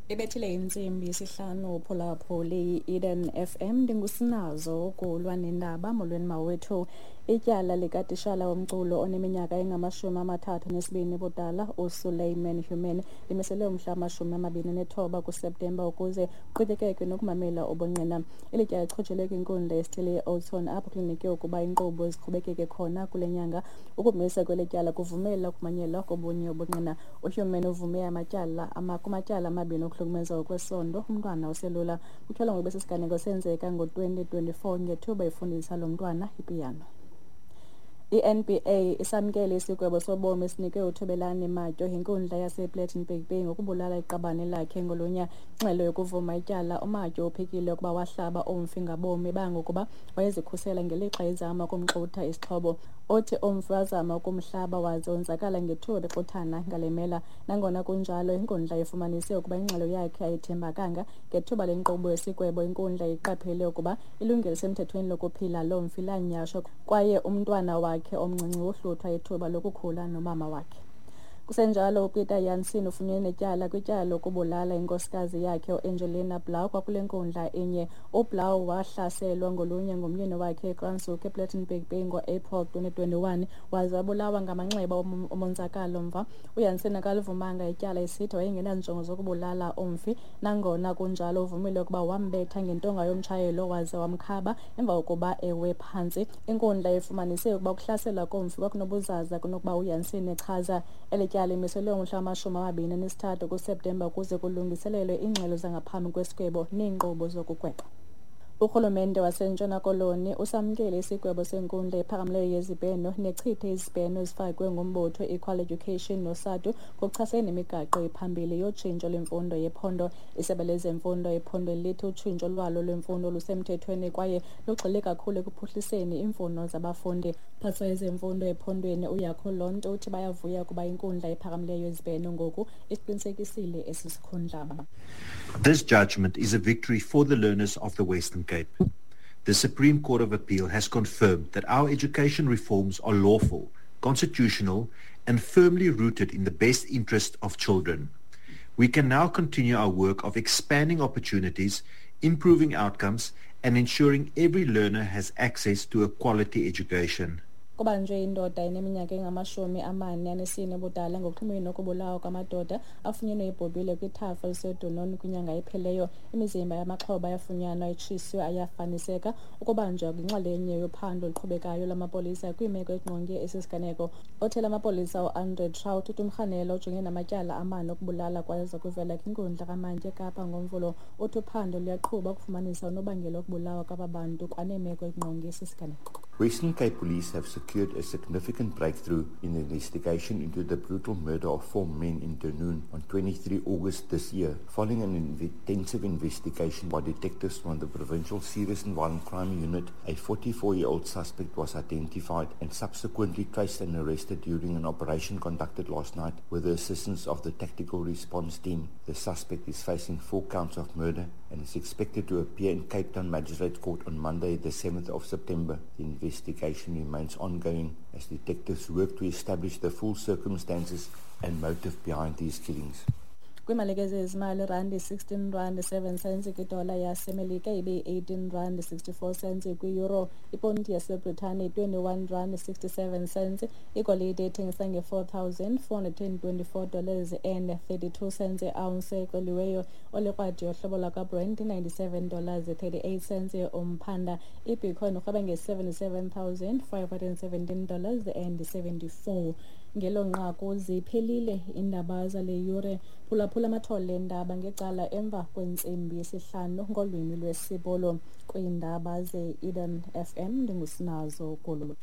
Ibethile intsimbi yesihlanu uphulaphuli i-Eden FM. Ndingusinazo ukulwa nendaba. Molweni mawethu. Ityala likatishala womculo oneminyaka engama-32 ubudala uSuleiman Human limiselwe umhla wama-29 kuSeptemba ukuze kuqhubekekwe nokumamela ubungqina. Eli tyala lichotshelwe kwinkundla yesithili e-Oudtshoorn, apho kulindeleke ukuba iinkqubo ziqhubekeke khona kule nyanga. Ukumisa kweli tyala kuvumela ukumanyelwa kobunye ubungqina. UHuman uvume amatyala kumatyala amabini okuhlukumeza ngokwesondo umntwana oselula. Kutyholwa ngokuba esi siganeko senzeka ngo-2024 ngethuba efundisa lo mntwana ipiyano. I-NBA isamkele isigwebo sobomi esinikwe uThobelani Matyo yinkundla yasePlettenberg Bay ngokubulala iqabane lakhe ngolunya. Ingxelo yokuvuma ityala, uMatyo uphikile ukuba wahlaba umfi ngabomi bangokuba wayezikhusela ngelixa ezama ukumxutha isixhobo. Uthi umfi wazama ukumhlaba waze wonzakala ngethuba bexuthana ngale mela. Nangona kunjalo, inkundla ifumanise ukuba ingxelo yakhe ayithembakanga. Ngethuba lenkqubo yesigwebo, inkundla iqaphele ukuba ilungelo elisemthethweni lokuphila lomfi lanyhashwa kwaye umntwana wakhe omncinci wohluthwa ithuba lokukhula nomama wakhe. Kusenjalo, uPeter Jansen ufunyenwe netyala kwityala lokubulala inkosikazi yakhe uAngelina Blau kwakule nkundla inye. UBlau wahlaselwa ngolunya ngumyeni wakhe eKranshoek ePlettenberg Bay ngo-April 2021 waze wabulawa ngamanxeba omonzakalo mva. UJansen akalivumanga ityala, esithi wayengenanjongo zokubulala umfi. Nangona kunjalo, uvumile ukuba wambetha ngentonga yomtshayelo waze wamkhaba emva kokuba ewe phantsi. Inkundla ifumanise ukuba ukuhlaselwa komfi kwakunobuzaza kunokuba uJansen echaza. Eli tyala limiselwe umhla wama-23 kuSeptemba ukuze kulungiselelwe iingxelo zangaphambi kwesigwebo neenkqubo zokugweba. Urhulumente waseNtshona Koloni usamkele isigwebo senkundla ephakamileyo yezibheno nechithe izibheno ezifakwe ngumbutho Equal Education noSADTU ngokuchasene nemigaqo ephambili yotshintsho lwemfundo yephondo. Isebe lezemfundo ephondweni lithi utshintsho lwalo lwemfundo lusemthethweni kwaye lugxile kakhulu ekuphuhliseni iimfuno zabafundi. Phathiswa wezemfundo ephondweni uYakho Lonto uthi bayavuya kuba inkundla ephakamileyo yezibheno ngoku isiqinisekisile esi sikhundla. This judgment is a victory for the learners of the Western Cape. The Supreme Court of Appeal has confirmed that our education reforms are lawful, constitutional, and firmly rooted in the best interest of children. We can now continue our work of expanding opportunities, improving outcomes, and ensuring every learner has access to a quality education. Kubanjwe indoda eneminyaka engama-44 ubudala ngokuxhumene nokubulawa kwamadoda afunyenwe ebhubhile kwithafa eliseDunoon kwinyanga ephelileyo. Imizimba yamaxhoba yafunyanwa itshiswe ayafaniseka. Ukubanjwa yinxalenye yophando oluqhubekayo lwamapolisa kwiimeko ezingqonge esi siganeko. Othela amapolisa uAndre Traut uthi umrhanelwa ujongene namatyala amane okubulala kwaye uza kuvela kwinkundla kamantyi eKapa ngoMvulo. Uthi uphando luyaqhuba ukufumanisa unobangela wokubulawa kwaba bantu kwaneemeko ezingqonge esi siganeko. Western Cape Police have secured a significant breakthrough in the investigation into the brutal murder of four men in Dunoon on 23 August this year. Following an intensive investigation by detectives from the Provincial Serious and Violent Crime Unit, a 44-year-old suspect was identified and subsequently traced and arrested during an operation conducted last night with the assistance of the Tactical Response Team. The suspect is facing 4 counts of murder and is expected to appear in Cape Town Magistrate Court on Monday, the 7th of September. The investigation remains ongoing as detectives work to establish the full circumstances and motive behind these killings. Kwiimalike zezimali, irandi 16 rand 7 cents kwidola yaseMelika, ibe yi-18 rand 64 cents kwi-euro, iponti yaseBritane 21 rand 67 cents, igolide ithengisa nge-$4,424 and 32 cents i-ounce exoliweyo, olikrwadi yohlobo lwakwaBrent $97 38 cents umphanda, ibitcoin urhweba nge-$77,517 and 74. Ngelo nqaku ziphelile iindaba zale yure. Phulaphula amathole endaba ngecala emva kwentsimbi yesihlanu ngolwimi lwesiBhulu. Kwiindaba ze-Eden FM, ndingusinazo Gulu.